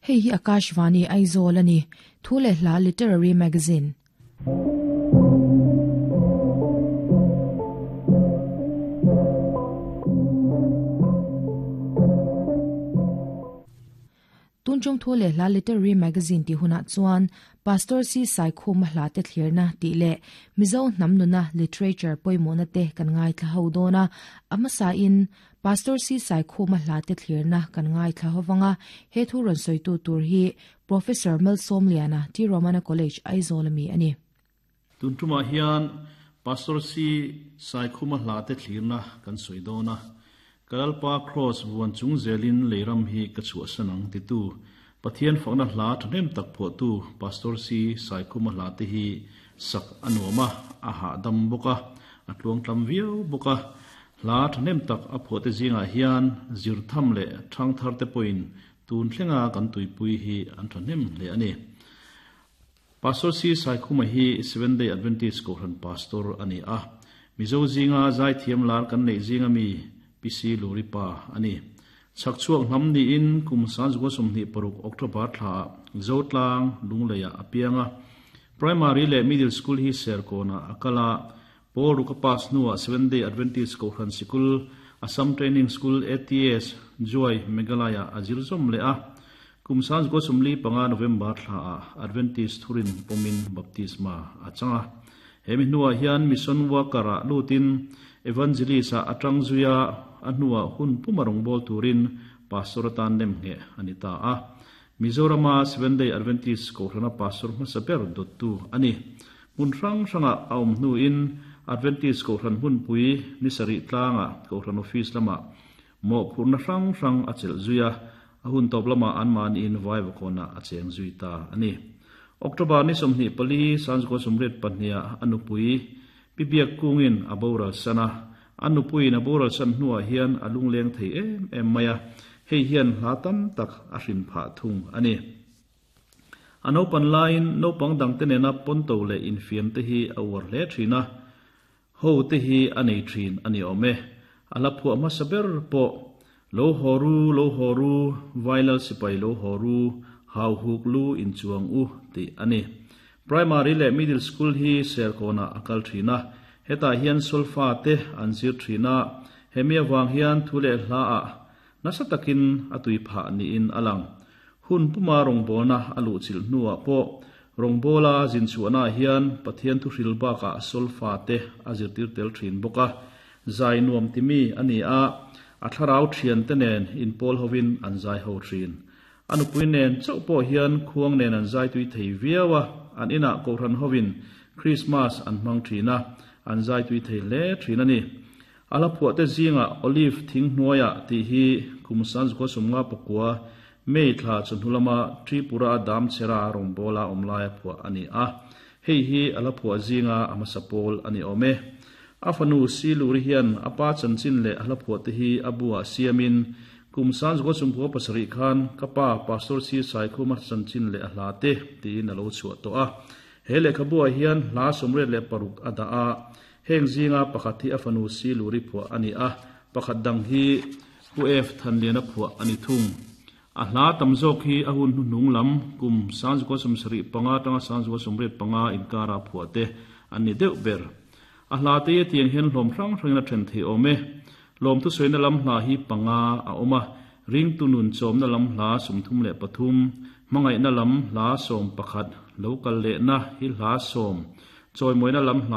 Hei hi Akashvani Aizawl a ni. Thu leh hla Literary Magazine. Tun chung thu leh hla Literary Magazine tih hunah chuan Pastor Si Saikhuma hla te thlirna tih leh Mizo hnam nuna literature pawimawhna te kan ngaithla ho dawn a, a hmasain Pastor Si Saikhuma hla te thlirna kan ngaithla ho vang a, he thu rawn sawitu tur hi Professor Malsawmliana, T Romana College, Aizawl ami a ni. Tun tumah hian Pastor Si Saikhuma hla te thlirna kan sawi dawn a, Ka Lalpa Kraws vuan chung zelin leiram hi ka chhuahsan ang titu Pathian fakna hla thahnem tak phuahtu Pastor Si Saikhuma hla te hi sak a nuam a, a hahdam bawk a, a tluangtlam viau bawk a. Hla thahnem tak a phuahte zingah hian zirtham leh thangthar te pawhin tun thlenga kan tuipui hi an thahnem hle a ni. Pastor Si Saikhuma hi Seventh Day Adventist Kohhran Pastor a ni a. Mizo zinga zaithiam lar kan neih zinga mi Pi Si Luri pa a ni. Chhakchhuak hnam niin kum sanzukua 26 October thlaah Zotlang, Lungleiah a piang a. Primary leh Middle School hi Serkawnah a kal a. Paul Ruka pass hnuah Seventh Day Adventist Kohhran Sikul, Assam Training School, ATS, Juai, Meghalaya a zir zawm leh a. Kum 1945 November thlaah Adventist thurin pawmin baptisma a chang a. He mi hnuah hian mission worker-ah lutin evangelist-ah a tang zui a, a hnuah hun puma rawngbâwl turin pastor atan nemngheh a ni ta a. Mizorama Seventh Day Adventist Kohhrana pastor hmasa ber dawttu a ni. Hmun hrang hrangah a awm hnuin Adventist Kohhran hmunpui ni sarih tlangah Kohhran office lamah Mawhphurhna hrang hrang a chelh zui a, a hun tawp lamah anmahniin Vaivakawnah a cheng zui ta a ni. October ni 24, 1982 a nupui Pi Biak Kungin a boral san a, a nupuiin a boral san hnuah hian a lungleng thei em em mai a, hei hian hla tam tak a hrin phah thung a ni. A naupan laiin naupang dangte nena pawnto leh infiamte hi a uar hle thin a, Ho te hi a nei thin a ni awm e. A la phuah hmasa ber pawh, Lo haw ru, lo haw ru, Vailal sipai lo haw ru, hau huk lu in chuang u, tih a ni. Primary leh Middle School hi Serkawnah a kal thin a, hetah hian solfa te an zir thin a, hemi avang hian thu leh hla ah nasa takin a tui phah niin a lang. Hun puma rawngbawlna a luhchilh hnuah pawh rawngbawla zin chhuahnaah hian Pathian thuhril bakah solfa te a zirtir tel thin bawk a. Zai nuam timi a ni a, a thlarau thiante nen inpawl hovin an zai ho thin. A nupui nen chauh pawh hian khuang nen an zai tui thei viau a, an inah kohhran hovin Krismas an hmang thin a, an zai tui thei hle thin a ni. A hla phuahte zingah Olive thing hnuaiah tih hi kum 1959 May thla chawhnu lama Tripura a dam chhera rawngbawla awm laia phuah a ni a. Hei hi a hla phuah zinga a hmasa pawl a ni awm e. A fanu Siluri hian a pa chanchin leh a hla phuahte hi a buah siamin kum 1997 khan Ka pa Pastor Sir Saikhuma chanchin leh a hla te tiin a lo chhuah tawh a. He lehkhabuah hian hla 36 a dah a. Heng zinga pakhat hi a fanu Siluri phuah a ni a, pakhat dang hi Pu F. Thanliana phuah a ni thung. A hla tam zawk hi a hun hnuhnung lam kum 1975 atanga 1985 inkara phuah te an ni deuh ber. A hla te hi tiang hian hlawm hrang hrangin a then thei awm e. Lawmthusawiina lam hla hi panga a awm a, ringtu nun chawmna lam hla 33, hmangaihna lam hla 11, lo kal lehna hi hla sawm, chawimawina lam hla.